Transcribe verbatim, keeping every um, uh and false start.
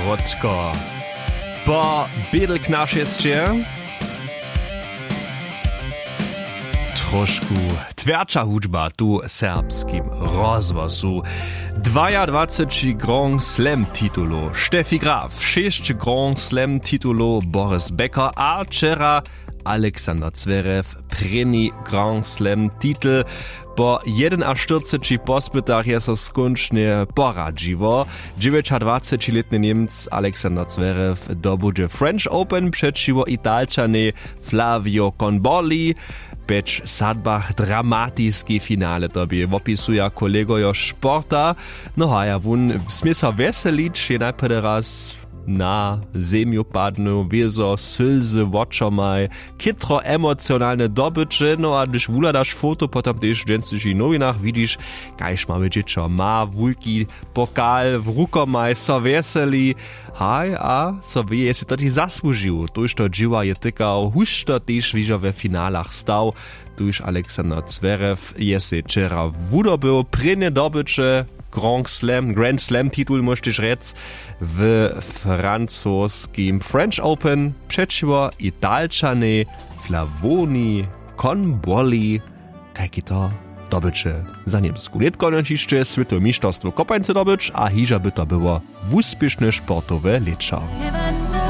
Wotko po bědel k našesće. Trošku twjerća hudźba tu w serbskim rozhłosu. Dwajadwaceći grand slam titulow Steffi Graf, šěsć grand slam titulow Boris Becker a wčera Alexander Zverev prěni grand slam titel. Po jedynaštyrceći pospytach je so skónčnje poradźiło. Dźewjećadwacećilětny Němc Alexander Zverev dobudźe French Open přećiwo Italčanej Flavio Conbolli. W pjeć sadbach dramatiski finale to bě, wopisuja kolegojo sporta. No haja wón smě so wjeselić, je najprjedy raz na zemju padnył, wězo sylzy wočomaj, chytro emocionalne dobyće. No a hdyž wuhladaš foto potom tež w dźensnišich nowinach, widźiš, kaž małe dźěćo ma wulki pokal w rukomaj, so wjeseli. Haj, a so wěje, je sej to tež zasłužił, tójšto dźěła je tykał, hušto tež hižo we finalach stał. Tuž Alexander Zverev je sej wčera wudobył prěnje dobyće, grand slam grand slam titul móžeš rjec, w francoskim French Open přećiwo Italčanej Flavoni Conbolli. Kajki to dobyće za Němsku nětko hišće swětowe mišterstwo kopańce dobyć a hižo by to było wuspěšne sportowe lěćo.